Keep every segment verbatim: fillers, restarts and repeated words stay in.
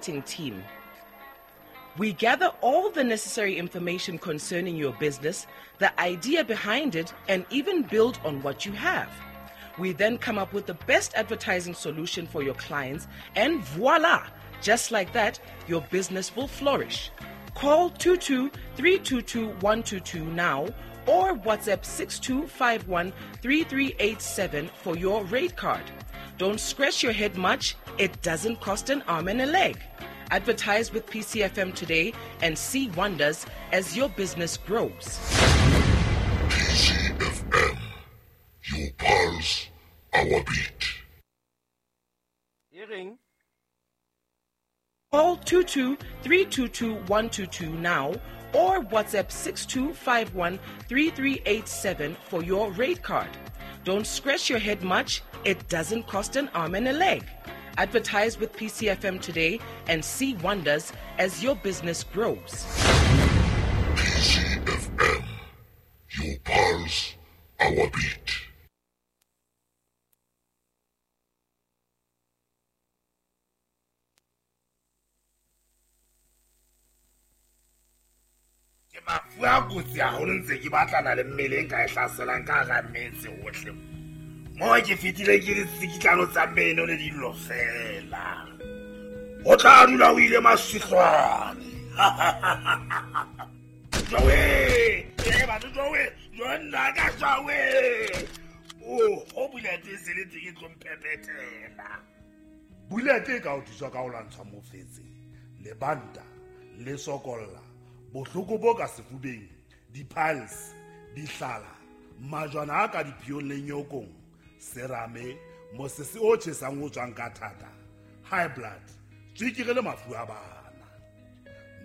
Team. We gather all the necessary information concerning your business, the idea behind it, and even build on what you have. We then come up with the best advertising solution for your clients, and voila! Just like that, your business will flourish. Call two two three two two one two two now or WhatsApp six two five one three three eight seven for your rate card. Don't scratch your head much. It doesn't cost an arm and a leg. Advertise with P C F M today and see wonders as your business grows. P C F M, your pulse, our beat. Hearing. Call two two three two two one two two now or WhatsApp six two five one three three eight seven for your rate card. Don't scratch your head much. It doesn't cost an arm and a leg. Advertise with P C F M today and see wonders as your business grows. P C F M, your pulse, our beat. Ke mafu a kotsi haholo ntse ke batlana le mmele e nka e hlaselang ka hara metse hohle. Mo ke fetile ke ditsikitlano tsa meno le dillo fela. O tla dula o ile masihlwane. Jowe, e batho jowe, jo nna ka jowe. O ho bulete se le teng e tlo mphephetela. Bulete e ka o thusa ka ho lwantsha mofetse, lebanta, le sokolla, bohloko bo ka sefubeng, di-piles, dihlala, majwana a ka diphiong le nyokong, serame, mosese o tjhesang o tswang ka thata, high blood, tswekere le mafu a bana.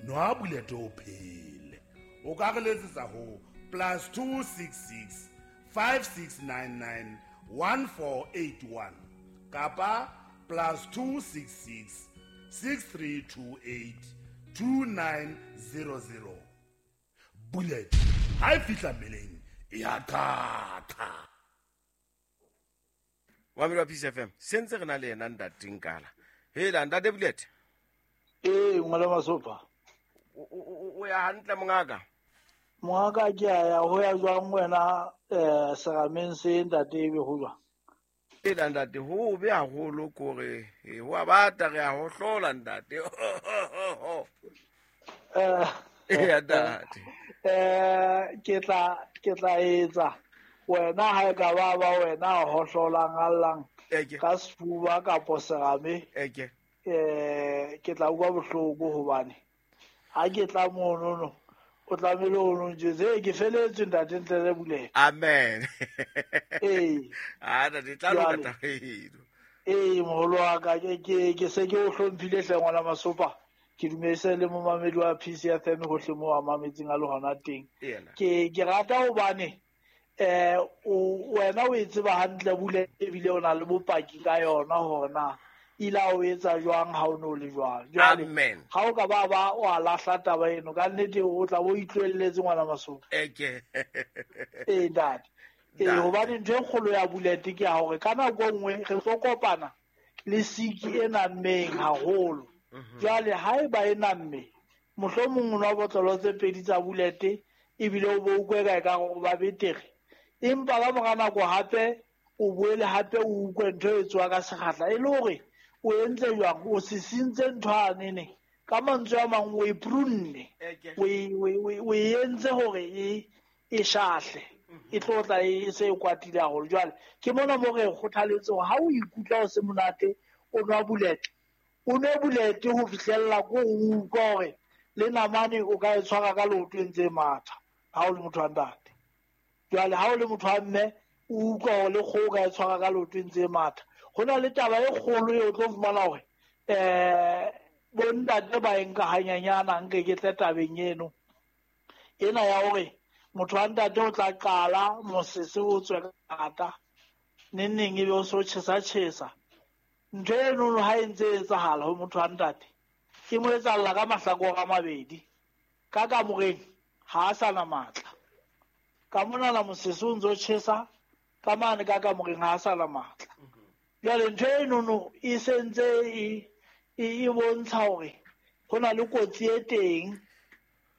Nwa Bulete o phele. O ka re letsetsa ho plus two six six five six nine nine one four eight one kapa plus two six six six three two eight two nine zero zero. Bullet ha e fihla mmeleng e a qatha. Wa P C F M sentse re na le yena ntate Nkala. Hela ntate Bullet. Eh ngwana Masopa. O ya hantle mongaka. Mongaka ke a ya ho ya jwang wena eh serameng se ntate ebe ho jwang? Hela ntate ho be haholo kore ho a bata re a ho hlola ntate. Eh eh ntate. Eh ke tla ke tla etsa wena ha e ka ba ba wena ho hlolang allang ka sefuba kapo serame. Eke. Eh ke tla utlwa bohloko hobane ha ke tla mono no o tlamehile o no njwetse ke feletswe ntate ntle le Bulete. Amen. Eh. Ah ntate tla loka taba eno. Eh moholo wa ka ke ke ke se ke o hlomphile hle ngwana Masopa. Ke dumedise le momamedi wa P C F M hohle mo a mametseng a le hona teng. Ke ke rata hobane eh o wena o e tseba hantle Bulete ebile o na le bopaki ka yona hore na ila o etsa jwang ha o no le jwang. Jwale ha o ka ba ba o a lahla taba eno ka nnete o tla bo itlwelletse ngwana Masopa. Eke. Eh ntate. Eh hobane ntho e kgolo ya Bulete ke ya hore ka nako e nngwe re tlo kopana le siki e nammeng haholo. Jwale ha eba e namme mohlomong o nwa botlolo tse pedi tsa Bulete ebile o bo utlwe ka ekare o ba betere. Empa ka mora nako hape o boele hape o utlwe ntho e tswa ka sekgahla e le hore o entse jwang, o sisintse ntho anene ka mantswe a mang o e prunne, o e entse hore e e shahle e tlo tla e se e kwatile haholo. Jwale ke mona mo re kgothaletse hore ha o ikutlwa o se monate o nwa Bulete, o nwe Bulete ho fihlella ko o utlwa hore le namane o ka e tshwara ka leoto e ntse e matha ha o le motho wa ntate. Jwale ha o le motho wa mme o utlwa hore le kgoho o ka e tshwara ka leoto e ntse e matha. Ho na le taba e kgolo eo o tlo fumana hore eh bo ntate ba e nka hanyanyana nke ke tle tabeng eno ena ya hore motho wa ntate o tla qala mosese o tswe ka thata neng neng ebe o so tjhesa tjhesa. Ntho eno ha e ntse e etsahala ho motho wa ntate e mo etsahalla ka mahlakore a mabedi. Ka kamoreng ha a sa na matla, ka monana mosese o ntso tjhesa, ka mane ka kamoreng ha a sa na matla. Jwale ntho eno no e sentse e e bontsha hore ho na le kotsi e teng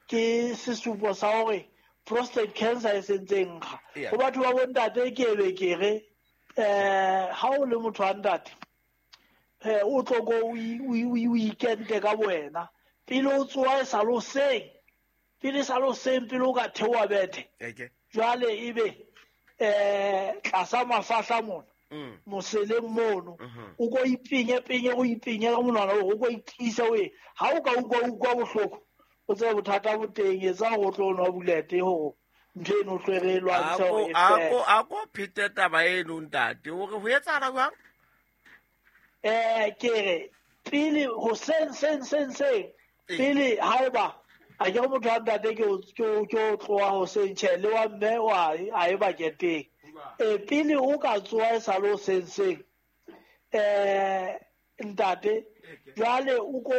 ke sesupo sa hore prostate cancer e sentse nkga ho batho ba bontate ke be ke re eh ha o le motho wa ntate eh o tlo go o ikente ka wena pele o tsoa e sa lo seng pele sa lo seng pele o ka theoha bethe jwale ebe eh tlasa mafahla mona moseleng mono o ko ipinye pinye o ipinye ka monwana o ko itisa o e ha o ka utlwa utlwa bohloko o tsebe bothata bo teng etsa go tlo nwa bulete hore ntho eno tlo re lwantsha hore e fele. Ako ako phete taba eno ntate hore ho etsahala jwang? Eh ke re pele ho seng seng seng seng pele haeba a ke motho wa ntate ke ke ke tloha ho seng tjhe le wa mme wa a e ba keteng e pele o ka tsoa e sa lo seng seng eh ntate jwale o ko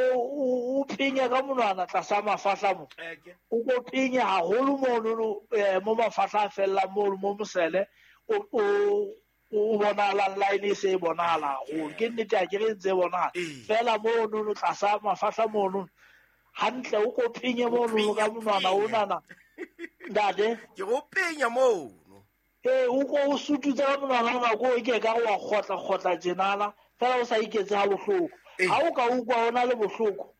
o pinye ka monwana tlasa mafahla mo o ko pinye haholo mono mo mafahla a fellang mono mo mosele o o o bonahala line e se e bonahala haholo ke nnete ha ke re ntse e bonahala fela mono tlasa mafahla mono hantle o ko pinye mono ka monwana onana ntate ke go pinya mono ee o ko o sututse ka monwana ona ko ke ka wa kgotla kgotla tjenala fela o sa iketse ha bohloko ha o ka utlwa o na le bohloko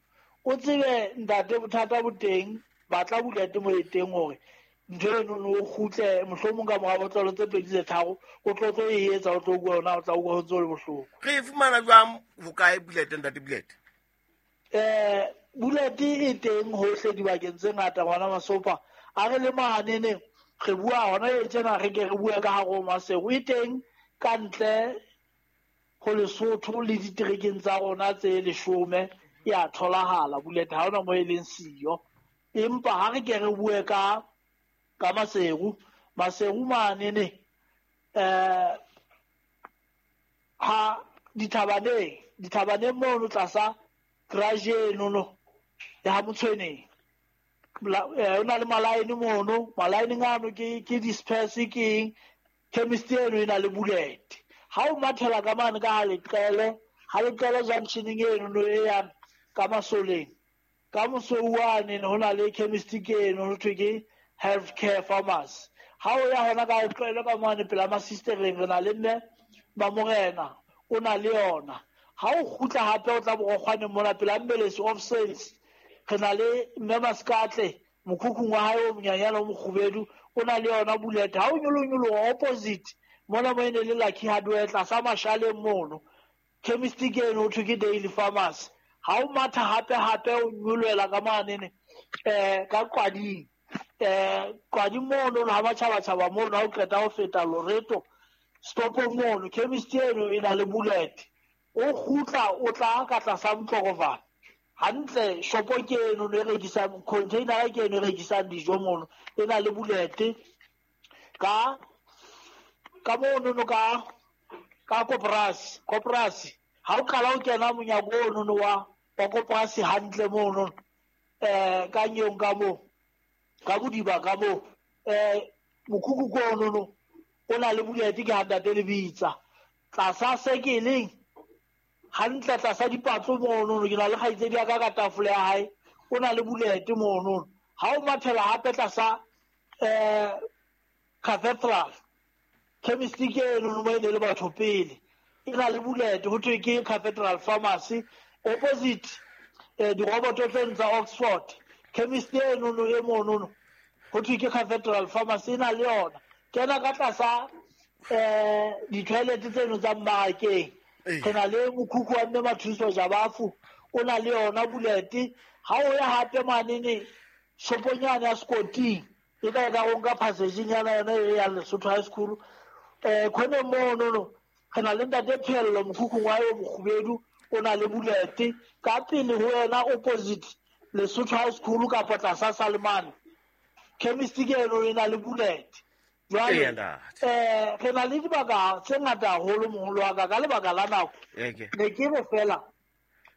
o tsebe ntate bothata bo teng batla bulete mo e teng hore ntho eno o kgutle mohlomong ka mora botlolo tse pedi tse tharo o tlo tlo e etsa o tlo utlwa ona o tla utlwa ho ntse o le bohloko. Re e fumana jwang hokae bulete ntate Bulete? Eh bulete e teng hohle dibakeng tse ngata ngwana Masopa a re le maneneng re bua hona e tjena re ke re bua ka hare ho Maseru e teng ka ntle ho Lesotho le diterekeng tsa rona tse leshome ya tholahala bulete ha hona mo e leng siyo empa ha re ke re bue ka ka Maseru Maseru manene eh ha dithabaneng dithabaneng mono tlasa garage eno no ya ha Motshweneng o na le malaene mono malaeneng ano ke ke disperse ke chemist eno e na le bulete ha o mathela ka mane ka ha leqele ha leqele junctioneng eno no e yang ka Masoleng ka Mosouane ho na le chemist ke eno ho thwe ke healthcare pharmacy ha o ya hona ka leqele ka mane pela masistereng re na le mme ba morena o na le yona ha o kgutla hape o tla borokgwaneng mona pela Mbelesi of Sales re na le mme Maskatle mokhukhung wa hae o monyanyana o mokgubedu o na le yona bulete ha o nyolonyoloha opposite mona mo ene le Lucky Hardware tlasa Mashaleng mono chemist ke eno ho thwe ke Daily Pharmacy ha o matha hape hape o nyolohela ka manene eh ka Qwading eh Qwading mono ha matjhabatjhaba mono ha o qeta ho feta Loreto stop mono chemist eno e na le bulete o kgutla o tla ka tlasa Motlokovana hantle shopo ke eno e rekisang container ke eno e rekisang dijo mono e na le bulete ka ka mono no ka ka koporasi koporasi ha o qala o kena monyako ono no wa wa koporasi hantle mono eh ka nyong ka mo ka bodiba ka mo eh mokhukhu ko ono no o na le bulete ke hantate le bitsa tlasa sekeleng hantle tlasa dipatlo mono ke na le kgaitsedi ya ka ka tafole ya hae o na le bulete mono ha o mathela hape tlasa eh cathedral chemist ke eno mo ene le batho pele e na le bulete ho thwe ke Cathedral Pharmacy opposite eh diroboto tse tsa Oxford chemist eno no e mono ho thwe ke Cathedral Pharmacy e na le yona kena ka tlasa eh di-toilet tseno tsa mmarakeng re na le mokhukhu wa mme Mathuso Jabafu o na le yona bulete ha o ya hape manene shoponyana ya Skoting e ka e ka go nka passage-nyana yona e ya Lesotho High School eh khone mono no re na le ntate Phello mokhukhung wa yo mokgubedu o na le bulete ka pele ho yena opposite Lesotho High School kapa tlasa Salemane chemist ke eno e na le bulete jwale eh re na le dibaka tse ngata haholo moholo wa ka ka lebaka la nako ne ke re fela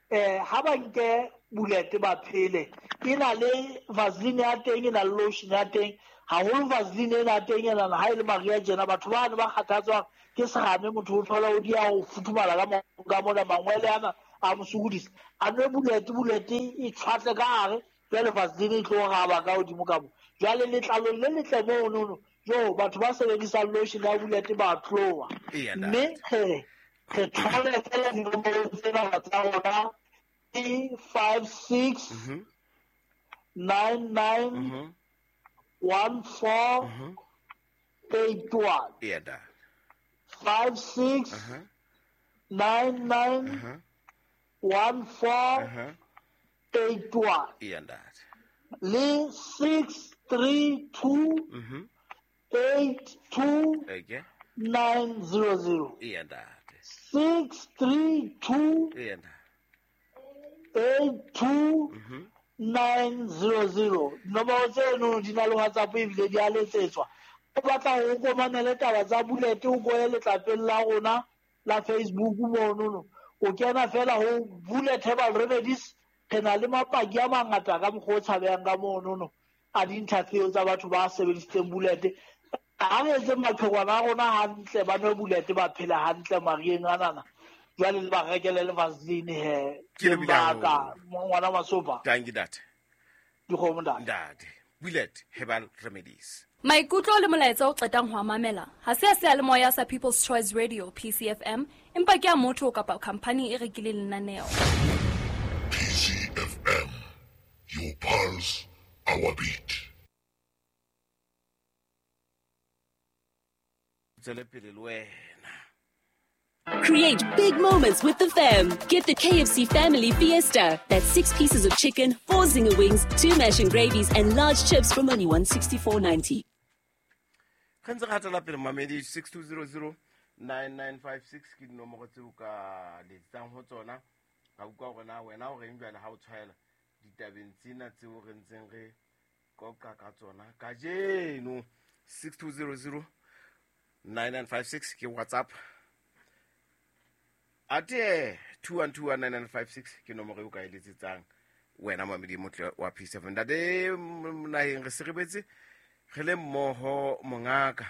eh ha ba nke bulete ba phele e na le vaseline ya teng e na le lotion ya teng haholo vaseline ena teng ena ha e le mariha tjena batho bane ba kgathatswang ke serame motho o thola o dia ho futhumala ka mo ka mona mangwele ana a mo sokodisa a nwe bullet bullet e tshwatle ka gare jwale vaseline e tlo raba ka godimo ka mo jwale letlalo le letle monono jo batho ba sebedisang lotion ya bullet ba tloa mme he re thole fela dinomoro tsena tsa rona ke five six nine nine one four eight one five six nine nine one four eight one le six three two eight two nine zero zero six three two eight two nine zero zero nomoro tseno di na le WhatsApp ebile di a letsetswa o batla ho komanele taba tsa bullet o koye letlapeng la rona la Facebook monono o kena fela ho Bullet Herbal Remedies re na le mapaki a mangata ka mokgwa o tshabehang ka monono a di-interview tsa batho ba sebedisitseng bullet ha re etse maqhekwana a rona hantle ba nwe bullet ba phela hantle marieng anana jwale le ba rekele le vaseline he Ke lebile baka ngwana masopa Thank you ntate. Dikgomo ntate. Ntate. Bullet Herbal Remedies. Maikutlo le molaetsa o qetang ho a mamela ha se a seyalemoya sa People's Choice Radio P C F M empa ke a motho kapa khampani e rekileng lenaneo. P C F M, your pulse, our beat. Tswele pele le wena. Create big moments with the fam. Get the K F C Family Fiesta. That's six pieces of chicken, four zinger wings, two mash and gravies, and large chips from only one sixty-four ninety. Re ntse re hatela pele mamedi six two zero zero nine nine five six ke dinomoro tseo ka letsang ho tsona. Ka utlwa hore na wena o reng jwale ha o tshwaela ditabeng tsena tseo re ntseng re qoqa ka tsona kajeno. six two zero zero nine nine five six ke WhatsApp. Ate two one two one nine nine five six ke nomoro eo ka e letsetsang wena mamedi motle wa P seven. Ntate naheng re serebetse re le mmoho mongaka.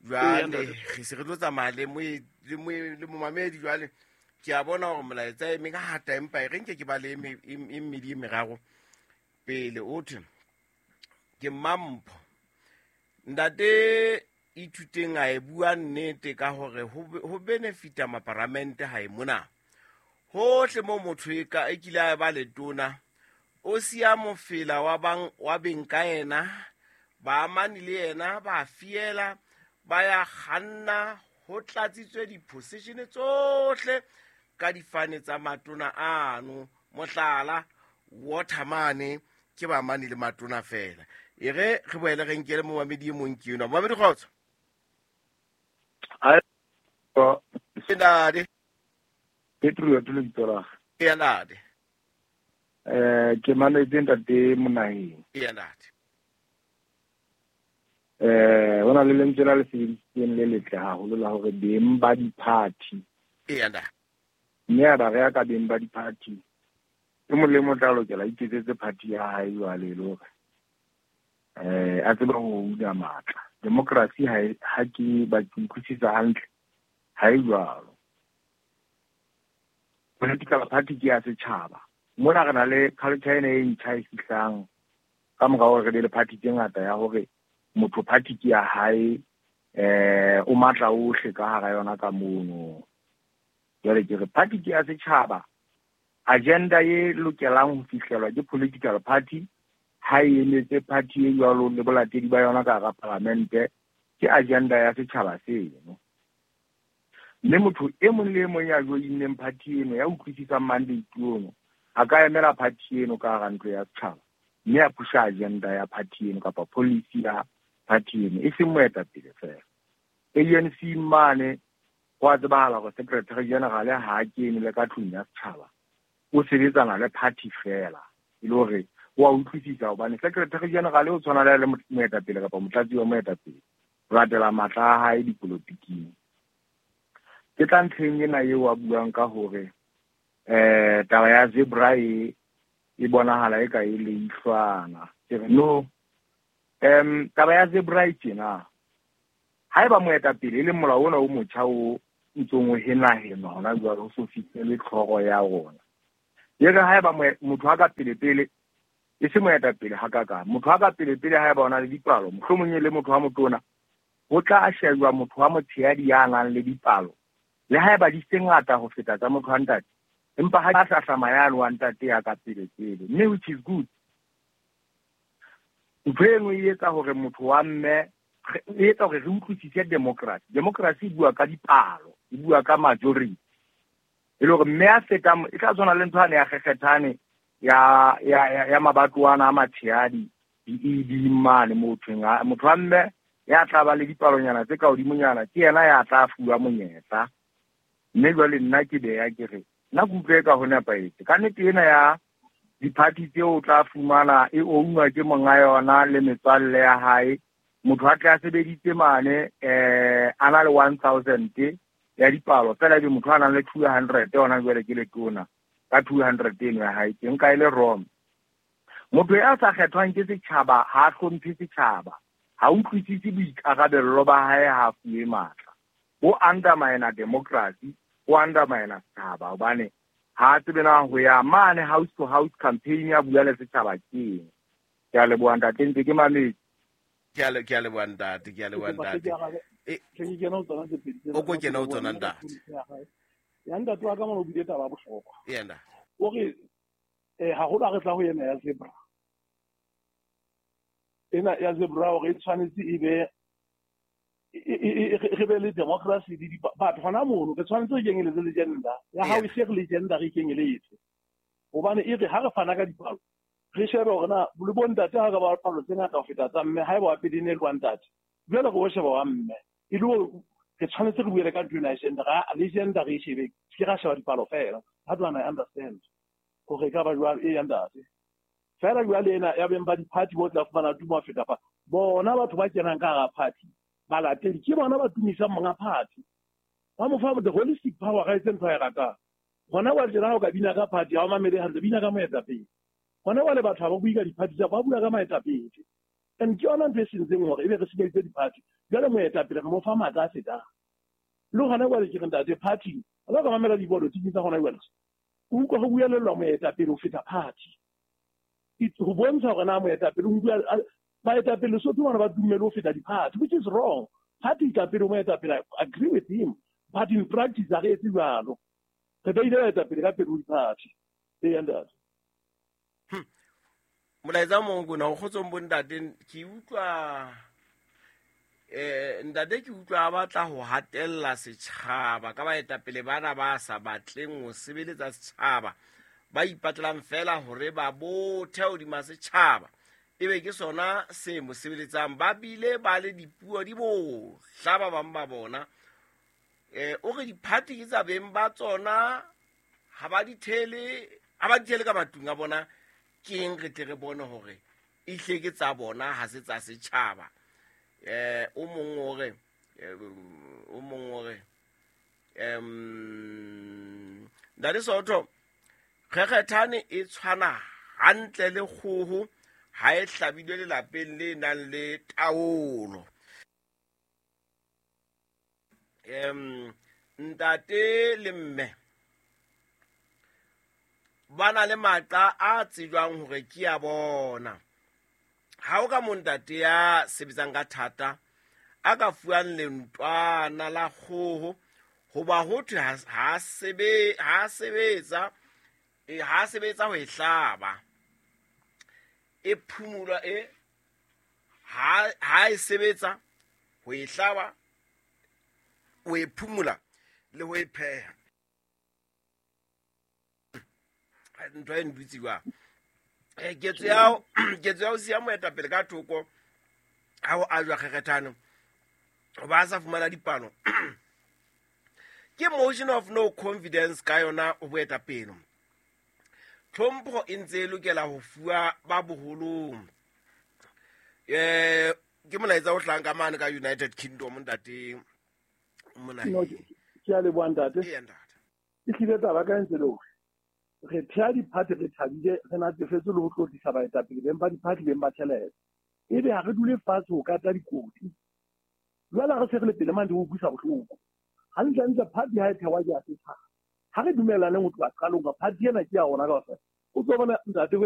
Jwale re se re tlo tsamaya le moe le moe le momamedi jwale ke a bona hore molaetsa e mengata empa e re nke ke ba le e mmedi e meraro pele o thwe ke Mampho. Ntate ithuteng a e bua nnete ka hore ho benefita maparamente ha e mona. Hohle mo motho e ka e kile a ba letona o siya mofela wa bang wa beng ka yena ba amane le yena ba fiela ba ya kganna ho tlatsitswe di-position tsohle ka difane tsa matona ano mohlala watermane ke ba amane le matona fela. E re re boele re nkele momamedi e mong ke enwa. Momamedi kgotso. Ai ntate. Petro ke lebitso la. Eya ntate. Eh ke mametse ntate Monaheng. Eya ntate. Eh hona le lentswe la le sebedisitseng le letle haholo la hore beng ba di-party. Eya ntate. Mme a ba re ka beng ba di-party. E mong le mong tla lokela iketsetse party ya hae jwale e le hore eh a tsebe ho una matla. Democracy ha ha ke ba utlwisisa hantle ha e jwalo. Political party ke ya setjhaba. Mona re na le culture ena e ntjha e fihlang ka mora hore re be le party tse ngata ya hore motho party ke ya hae eh o matla ohle ka hara yona ka mono. Jwale ke re party ke ya setjhaba. Agenda e lokelang ho fihlelwa ke political party ha e emetse party e jwalo le bolatedi ba yona ka hara parliamente ke agenda ya setjhaba seno. Mme motho e mong le e mong ya joinneng party eno ya utlwisisang mandate ono a ka emela party eno ka hara ntlo ya setjhaba mme a pusha agenda ya party eno kapa policy ya party eno e seng moetapele fela. A N C mane ho a tsebahala hore secretary general ha a kene le ka tlung ya setjhaba o sebetsana le party fela e le hore wa utlwisisa hobane secretary general o tshwana le moetapele kapa motlatsi wa moetapele o latela matla a hae dipolotiking. Ke tla ntlheng ena eo a buang ka hore eh taba ya zebra e e bonahala e ka e leihlwana. Ke re no em taba ya zebra e tjena haeba moetapele e le molao ona o motjha o ntsong o henahenwa hona jwale ho so fihlele tlhoro ya rona. E re haeba motho a ka pele-pele e se moetapele hakakang, motho a ka pele-pele haeba o na le dipalo, mohlomong e le motho wa motona, ho tla shejwa motho wa motshehadi ya nang le dipalo le haeba di se ngata ho feta tsa motho wa ntate, empa ha a hlahlama yane wa ntate ya ka pele-pele, mme which is good. Ntho e nngwe e etsa hore motho wa mme e etsa hore re utlwisise democracy. Democracy e bua ka dipalo, e bua ka majority. E le hore mme a fetang e tla tshwana le ntho ane ya kgekgethane ya ya ya mabatwana a matshehadi di-E D mane mothong motho wa mme ya tla ba le dipalonyana tse ka hodimonyana ke yena ya tla fuwa monyetla. Mme jwale nna ke beya ke re nna ke utlwe ka ho nepahetse. Ka nnete ena ya diphathi tseo o tla fumana e ownwa ke monga yona le metswalle ya hae. Motho a tle a sebeditse mane eh a na le one thousand ya dipalo fela ebe motho a nang le two hundred yona jwale ke letona ka two hundred eno ya hae ke nka e le wrong. Motho ya sa kgethwang ke setjhaba ha a hlomphe setjhaba, ha utlwisise boikarabello ba hae, ha fuwe matla. O undermine democracy, o undermine setjhaba hobane ha tsebe na ho ya mane house to house campaign ya bua le setjhaba ke eng. Ke a leboha ntate, ntse ke mametse. Ke a ke a leboha ntate, ke a leboha ntate. Ke kena ho tsona tse pedi. O ko kena ho tsona ntate. Ya ntate wa ka mona o buile taba ya bohlokwa. Yena. O re eh haholo ha re tla ho yena ya zebra. Ena ya zebra hore e tshwanetse e be re be le democracy di batho hona mono re tshwanetse re kenyeletse le gender ya hao e se re le gender re kenyeletse hobane e re ha re fana ka dipalo re shebe hore na le bo ntate ha ka ba palo tse ngata ho feta tsa mme ha eba wa pele ne le wa ntate jwale re o sheba wa mme e le hore re tshwanetse re buele ka ntho ena ya gender le gender re e shebe ke ra sheba dipalo fela. How do I understand hore e ka ba jwalo e ya ntate fela jwale ena ya beng ba di-party bo tla fumana tumo ho feta fa bona batho ba kenang ka hara party balatedi ke bona ba tumisang monga party ba mo fa the holistic power ga etse ntho a e ratang hona wa tjena ha o ka bina ka party ha o mamele hantle bina ka moetapele hona wale batho ha ba bue ka di-party tsa ba bua ka moetapele and ke yona ntho e sentseng hore ebe re senyeditse di-party jwale moetapele re mo fa matla a fetang le hona jwale ke re ntate party ha ka mamela dipolotiki tsa hona jwale o utlwa ho buelellwa moetapele ho feta party ho bontsha hore na moetapele o bua baetapele Lesotho bona ba dumele ho feta di-party, which is wrong. Party ka pele moetapele, I agree with him, but in practice ha re etse jwalo. Re beile baetapele ka pele ho di-party. Ee ntate. Molaetsa o mong kona o kgotsong bo ntate ke utlwa eh ntate ke utlwa a batla ho hatella setjhaba ka baetapele bana ba sa batleng ho sebeletsa setjhaba ba ipatlang fela hore ba bothe hodima setjhaba ebe ke sona se mo sebeletsang ba bile ba le dipuo di bohla ba bang ba bona eh o re diphathi ke tsa beng ba tsona ha ba di thele ha ba di thele ka matlung a bona ke eng re tle re bone hore ehle ke tsa bona ha se tsa setjhaba eh o mong o re o mong o re em Ntate Soto kgekgethane e tshwana hantle le kgoho ha e hlabilwe lelapeng le nang le taolo. Em ntate le mme ba na le maqa a tsejwang hore ke ya bona. Ha o ka mo ntate ya sebetsang ka thata a ka fuwang lentwana la kgoho hoba ho thwe ha sebe ha sebetsa e ha sebetsa ho e hlaba e phumula e ha ha e sebetsa ho e hlaba o e phumula le ho e pheha ntho e ndutsiwa e ketso ya ketso ya o siya moetapele ka thoko ha o ajwa kgekgethano ba sa fumana dipalo ke motion of no confidence ka yona o boetapele. Tlhompho e ntse e lokela ho fuwa ba boholong. Eh ke molaetsa o hlang ka mane ka United Kingdom ntate mona. No, ke a leboha ntate. Ee ntate. E hlile taba ka ntse le hore re thea di-party re thabile re natefetswe le ho tlotlisa baetapele beng ba di-party beng ba tjhelete ebe ha re dule fatshe ho kata dikoti jwale ha re se re le pele mane di utlwisa bohloko. Hantlentle party ha e thewa ke ya setjhaba. Ha re dumellaneng ho tloha qalong ka party ena ke ya rona kaofela. O tlo bona ntate ho